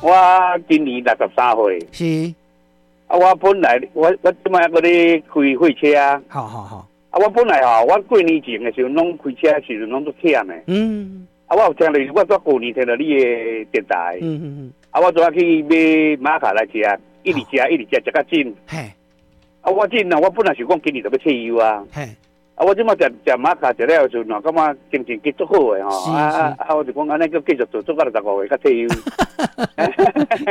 我今年63歲。啊，我本來我這擺閣咧開貨車啊。好好好。啊，我本來吼，我過年前的時陣攏開車的時陣攏足忝的。啊，我有聽著，我舊年聽著你的電台。啊，我昨仔去買瑪卡來食，一直食一直食，食甲盡。啊，我盡啊，我本來想講今年就欲退休啊。啊，我這擺食食瑪卡食了的時陣，感覺精神繼足好的吼。啊啊啊！我就講按呢閣繼續做，做到65歲才退休。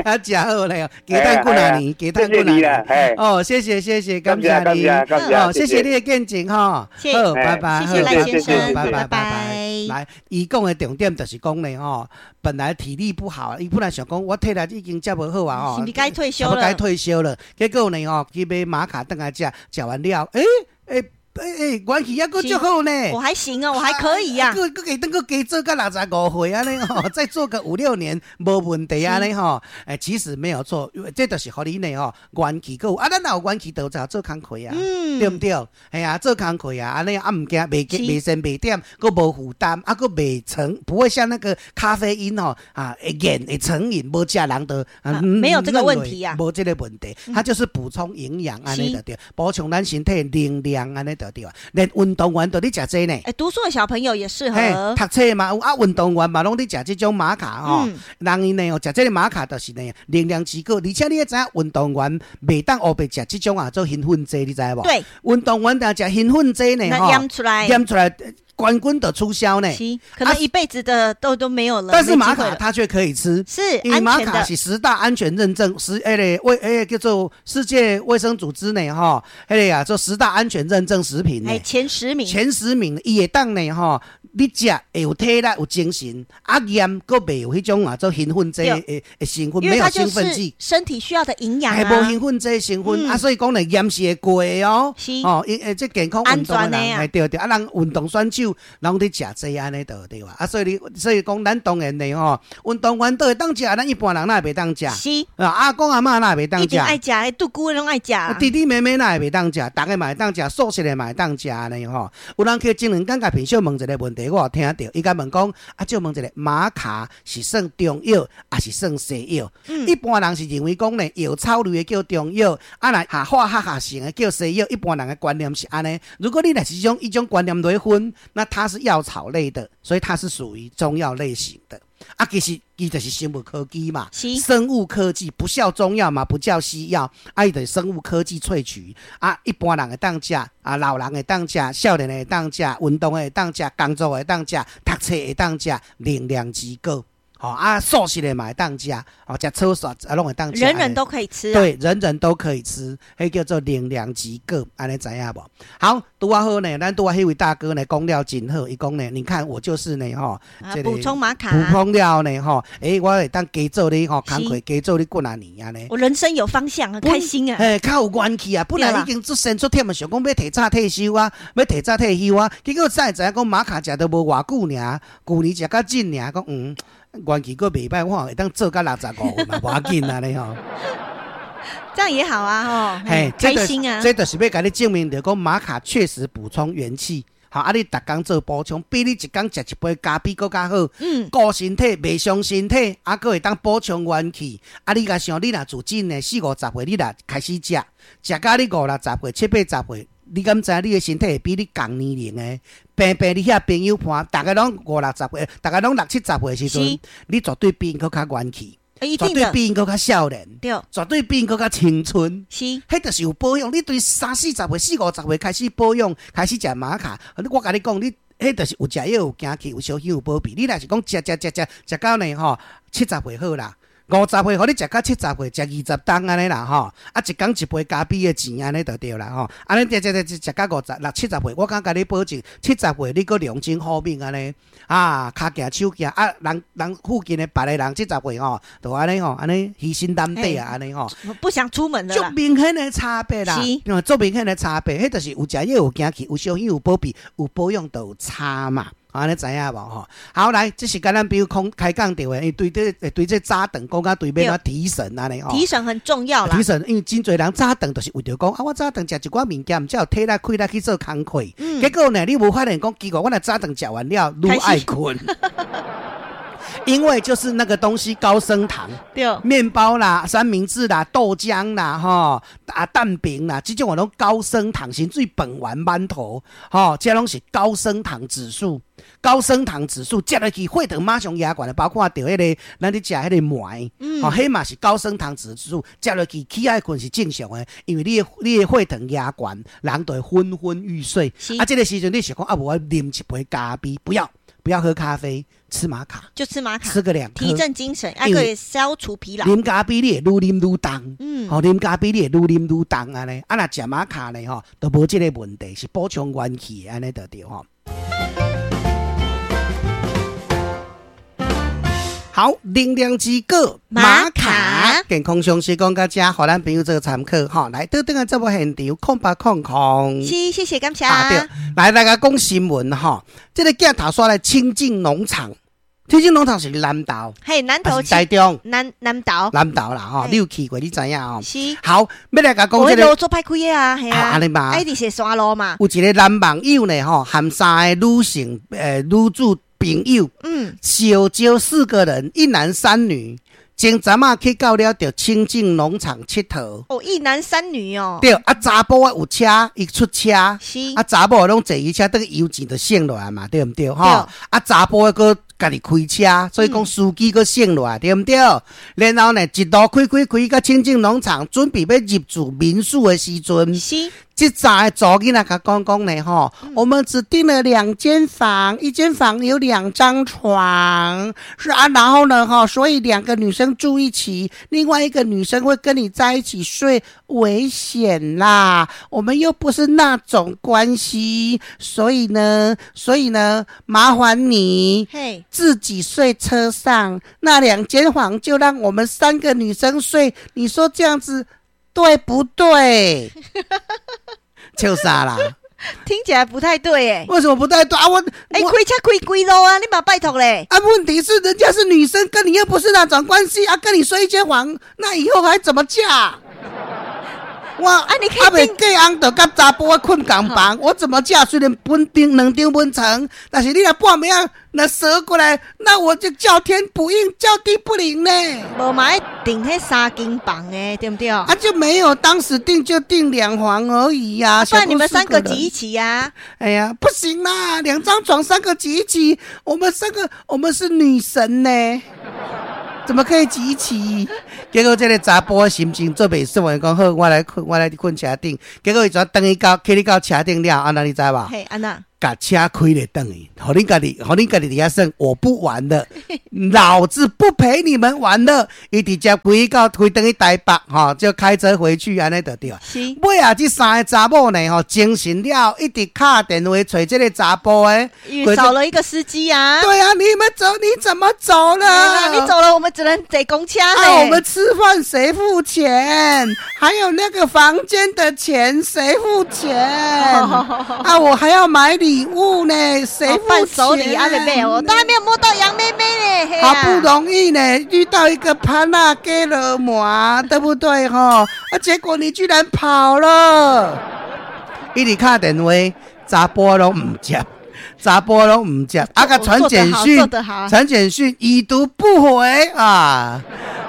啊，誠好咧，加等幾若年，加等幾若年。哦，謝謝謝謝，感謝你。感謝哦，謝謝你的見證吼。好，拜拜。謝謝賴先生，拜拜拜拜。來，伊講的重點就是講呢，吼，本來體力不好，伊本來想講我體力已經遮無好啊，吼，是毋是該退休了？該退休了。結果呢，吼，去買瑪卡轉來食，食完了，欸欸。欸欸，元氣猶閣足好呢。我還行哦，我還可以呀。閣閣會當閣加做到65歲按呢吼，再做個五六年無問題按呢吼。欸，其實沒有錯，這就是予你呢吼，元氣閣有啊，咱若有元氣，就就做工課啊，對毋對？嘿啊，做工課啊，按呢啊毋驚袂袂身袂忝，閣無負擔，啊閣袂成，不會像那個咖啡因吼啊會癮會成癮，無食人就沒有這個問題啊，無這個問題，它就是補充營養按呢就對，補充咱身體能量按呢就對啊。連運動員都咧食這呢。欸，讀書的小朋友也適合。讀冊嘛有啊，運動員嘛攏咧食這種瑪卡吼。人𪜶呢哦，食這個瑪卡就是呢能量持久，而且你會知影運動員袂當烏白食這種啊做興奮劑，你知無？對。運動員若食興奮劑呢吼，驗出來，驗出來冠軍就取消呢。是，可能一輩子的都沒有了。但是瑪卡它卻可以吃，是，因為瑪卡是十大安全認證，十欸個衛欸叫做世界衛生組織呢吼，彼個啊做十大安全認證食品呢，前10名，前10名，伊會當呢吼，你食會有體力有精神，啊驗閣袂有彼種啊做興奮劑的的成分，沒有興奮劑，身體需要的營養啊，無興奮劑成分啊，所以講呢驗是會過的哦，哦，伊欸這健康運動的人，欸對對，啊人運動選手攏咧食這按呢就對啊，啊所以你所以講咱當然呢吼，運動員都會當食，咱一般人哪會袂當食？是啊，阿公阿嬤哪會袂當食？一定愛食，獨孤攏愛食。弟弟妹妹哪會袂當食？逐个嘛會當食，素食的嘛會當食按呢吼。有人去前兩工共品秀問一個問題，我有聽著，伊共問講，啊，借問一下，瑪卡是算中藥，抑是算西藥？一般人是認為講呢，藥草類的叫中藥，啊若下化學合成的叫西藥。一般人的觀念是按呢。如果你若是種一種觀念來分，那它是藥草類的，所以它是屬於中藥類型的。啊，其實伊就是生物科技嘛，生物科技不叫中藥嘛，不叫西藥，啊，伊就是生物科技萃取。啊，一般人會當食，啊，老人會當食，少年會當食，運動的會當食，工作的會當食，讀冊會當食，能量之高。吼啊，素食的嘛會當食，哦，食草素啊，攏會當食。人人都可以吃。對，人人都可以吃，彼叫做能量之高，按呢知影無？好，拄仔好呢，咱拄仔彼位大哥呢講了真好，伊講呢，你看我就是呢，吼，補充瑪卡，補充了呢，吼，欸，我會當加做你吼，工課加做你幾若年按呢。我人生有方向，很開心啊。嘿，較有元氣啊！本來已經出身出忝的，想講欲提早退休啊，欲提早退休啊，結果才會知影講瑪卡食都無偌久爾，舊年食較緊爾，講嗯。元氣閣袂歹，我會當做到65歲嘛，無要緊按呢吼。這樣也好啊，吼，嘿，開心啊！這就是欲共你證明著講瑪卡確實補充元氣，好啊！你逐工做補充，比你一工食一杯咖啡閣較好。顧身體，袂傷身體，啊，閣會當補充元氣。啊，你共想，你若自真的四五十歲，你若開始食，食到你五六十歲、七八十歲，你敢知你的身體會比你仝年齡的？平平你遐朋友伴，逐个攏五六十歲，逐个攏六七十歲時陣，你絕對比𪜶閣較元氣，絕對比𪜶閣較少年，絕對比𪜶閣較青春。彼就是有保養。你對三四十歲、四五十歲開始保養，開始食瑪卡，我共你講，你彼就是有食藥有行氣，有小可有保庇。你若是講食食食食食到呢吼，七十歲好啦。50歲，予你食到70歲，食20冬按呢啦吼，啊一工一杯咖啡的錢按呢就對啦吼，按呢食食食食到五十六七十歲，我敢共你保證，七十歲你閣龍精虎猛按呢，啊，跤行手行，啊，人人附近的別个人七十歲吼，就按呢吼，按呢虛心擔底啊，按呢吼，不想出門了。足明顯的差別啦，足明顯的差別，彼就是有食藥有行氣，有小可有保庇，有保養就有差嘛。按呢知影無吼？好來，這是共咱比如講開講著的，因為對這對這早頓講甲對欲按怎提神按呢吼。提神很重要啦。提神，因為真濟人早頓就是為著講啊，我早頓食一寡物件，才有體力氣力去做工課。結果呢，你無發現講奇怪，我若早頓食完了，愈愛睏。因为就是那个东西高升糖，对，面包啦、三明治啦、豆浆啦、吼啊蛋饼啦，这种拢高升糖，甚至饭圆馒头，吼，这拢是高升糖指数。高升糖指数食落去，血糖马上压悬的，包括著彼个咱咧食彼个糜，吼，彼嘛是高升糖指数，食落去起爱睏是正常的，因为你的血糖压悬，人就会昏昏欲睡。啊，这个时阵你想讲啊，无我啉一杯咖啡，不要不要喝咖啡，吃玛卡，就吃玛卡，吃个两颗，提振精神，还可以消除疲劳。啉咖啡你会愈啉愈重，吼，啉咖啡你会愈啉愈重按呢。啊，若食玛卡呢，吼，就无这个问题，是补充元气的按呢就对吼。好，能量之果玛卡，健康常识讲到这，予咱朋友做参考吼。来，倒转来节目现场，0800。是，谢谢感谢。啊，对，来大家讲新闻吼，这个镜头刷来清境农场，清境农场是南投，嘿，南投，台中，南投，南投啦吼，你有去过，你知影吼？是。好，欲来共讲这个。我路做歹开的啊，嘿啊，按呢嘛。一直是山路嘛。有一个男网友呢，吼，含三个女性，女主。朋友，小招四个人，一男三女，前阵仔去到了著清境农场𨑨迌。哦，一男三女哦。对，啊，查埔的有车，伊出车，是，啊，查某的拢坐伊车，等于油钱就省落来嘛，对毋对？吼，啊，查埔的阁家己开车，所以讲司机阁省落来，对毋对？然后呢，一路开开开到清境农场，准备欲入住民宿的时阵，是。这三个查某囡仔共讲讲呢，吼，我们只订了两间房，一间房有两张床，是啊，然后呢，哈，所以两个女生住一起，另外一个女生会跟你在一起睡，危险啦。我们又不是那种关系，所以呢，麻烦你自己睡车上，那两间房就让我们三个女生睡，你说这样子对不对？笑啥啦？听起来不太对哎。为什么不太对啊？我开车开几路啊？你嘛拜托嘞。啊，问题是人家是女生，跟你又不是那种关系啊，跟你睡一间房，那以后还怎么嫁？我啊，你可以啊，袂嫁翁就佮查埔睏仝房，我怎么嫁？虽然分张两张分床，但是你若半暝仔若踅过来，那我就叫天不应，叫地不灵呢。无嘛爱订彼三间房的，对不对？啊，就没有，当时订就订两房而已呀。不然你们三个挤一起呀？哎呀，不行啦，两张床三个挤一起，我们三个我们是女神呢。怎么可以挤一起？结果这个查埔心情做袂爽，讲好，我来睏，我来睏车顶。结果伊就转去到去你到车顶了，按怎你知无？嘿，按怎？共车开咧转去，予恁家己，予恁家己伫遐耍，我不玩了，老子不陪你们玩了。伊直接开到开转去台北，吼，就开车回去，按呢就对。是。尾仔这三个查某呢，吼，精神了，一直敲电话揣这个查埔的，因为少了一个司机啊。对啊，你们走，你怎么走了？你走了，我们只能坐公车。啊，我们吃饭谁付钱？还有那个房间的钱谁付钱？啊，我还要买礼物呢，谁付钱？伴手礼啊，妹妹，我都还没有摸到杨妹妹呢。好不容易呢，遇到一个潘娜给了嘛，对不对哈？啊，结果你居然跑了，一直敲电话，查埔拢毋接，查埔拢毋接，啊，共传简讯，传简讯已读不回啊。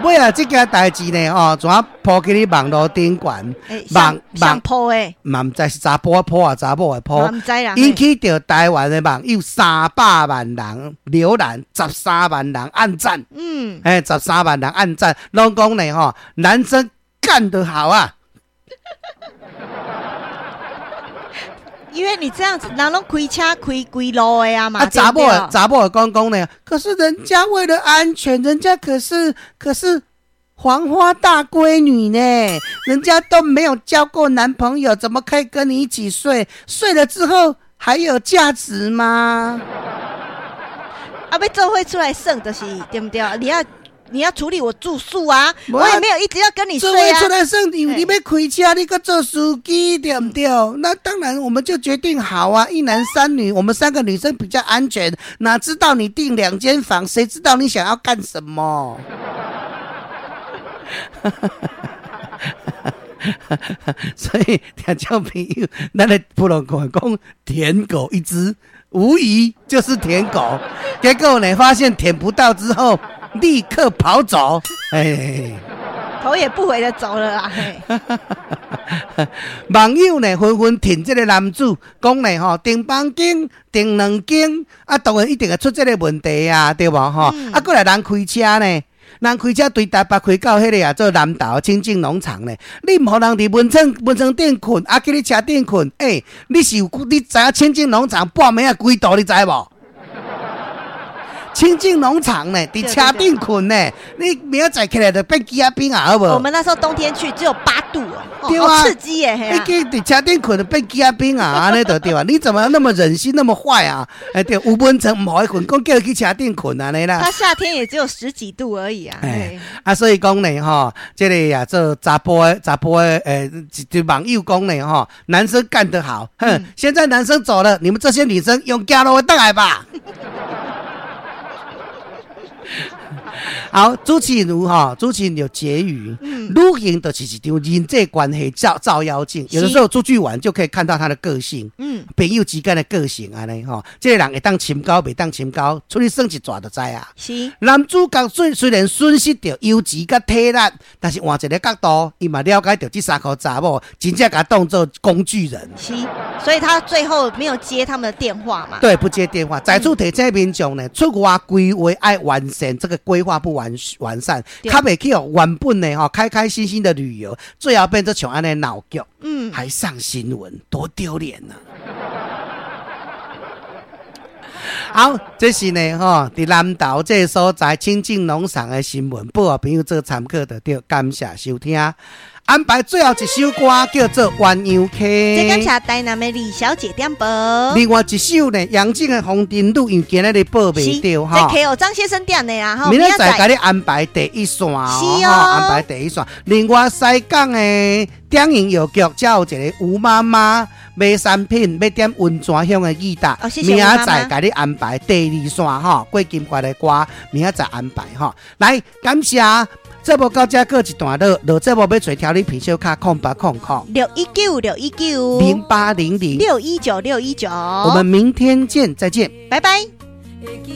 尾仔这件代志呢，哦，怎啊铺去咧网路顶悬？网网铺的，嘛毋知是查埔的铺啊，查某的铺。毋知啦。引起著台湾的网友300万人浏览，13万人按赞。13万人按赞，拢讲呢吼，男生干得好啊！因为你这样子，人拢开车开规路的啊嘛。啊，查某的讲呢，可是人家为了安全，人家可是黄花大闺女呢，人家都没有交过男朋友，怎么可以跟你一起睡？睡了之后还有价值吗？啊，欲做伙出来耍就是对不对？你要处理我住宿啊，我也没有一直要跟你睡啊。出来耍，因为你欲开车，你阁做司机，对不对？那当然，我们就决定好啊，一男三女，我们三个女生比较安全。哪知道你订两间房，谁知道你想要干什么？所以听众朋友，咱的普通话讲，舔狗一只。無疑就是舔狗。結果呢，發現舔不到之後，立刻跑走。哎，頭也不回的走了啦。網友呢紛紛挺這個男子，講呢吼，訂房間訂兩間，啊，當然一定會出這個問題啊，對無吼？啊，過來人開車呢，人開車對台北開到彼個啊，做南投清境農場呢，你毋予人佇溫床頂睏，啊，去你車頂睏，欸，你是有你知影清境農場半暝仔幾度？你知無？清境農場呢，佇車頂睏呢，你明仔載起來就變枝仔冰啊，好無？我們那時候冬天去只有8度哦，對啊，好刺激耶！你去佇車頂睏就變枝仔冰啊，按呢就對啊。你怎麼那麼忍心那麼壞啊？欸，對，有溫床毋予伊睏，講叫伊去車頂睏按呢啦。他夏天也只有十幾度而已啊。欸，啊，所以講呢，吼，這個啊做查埔的，欸，一網友講呢，吼，男生幹得好，哼，現在男生走了，你們這些女生用走路轉來吧。好，主持人哈，主持人有結語。旅行就是一場人際關係照妖鏡，有的時候出去玩就可以看到他的個性。朋友之間的個性按呢吼，這個人會當深交，袂當深交，出去耍一逝就知啊。男主角雖然損失著油錢佮體力，但是換一個角度，伊嘛了解著這三箍查某真正共當做工具人。是，所以他最後沒有接他們的電話嘛？對，不接電話。在此提醒民眾呢，出外規劃愛完善，這個規劃不完善，較袂去予原本的吼開開心心的旅遊，最後變做像按呢鬧劇，還上新聞，多丟臉啊！好，這是呢吼，佇南投這個所在清境農場的新聞，報予朋友做參考就對。感謝收聽，安排最後一首歌叫做《鴛鴦溪》。這感謝台南的李小姐點播。另外一首呢，楊靜的《紅燈女》，因為今日報袂著哈。這 K 張先生點的啦，明仔載共你安排第一線，是哦，安排第一線。另外西港的鼎營藥局，才有一個吳媽媽買產品，欲點溫泉鄉的議答，明仔載共你安排第二線哈，過金塊的歌，明仔載安排哈。來，感謝。節目到這閣一段落，落節目欲揣調理品小卡0800 619 619 0800 619 619，我們明天見，再見，拜拜。會記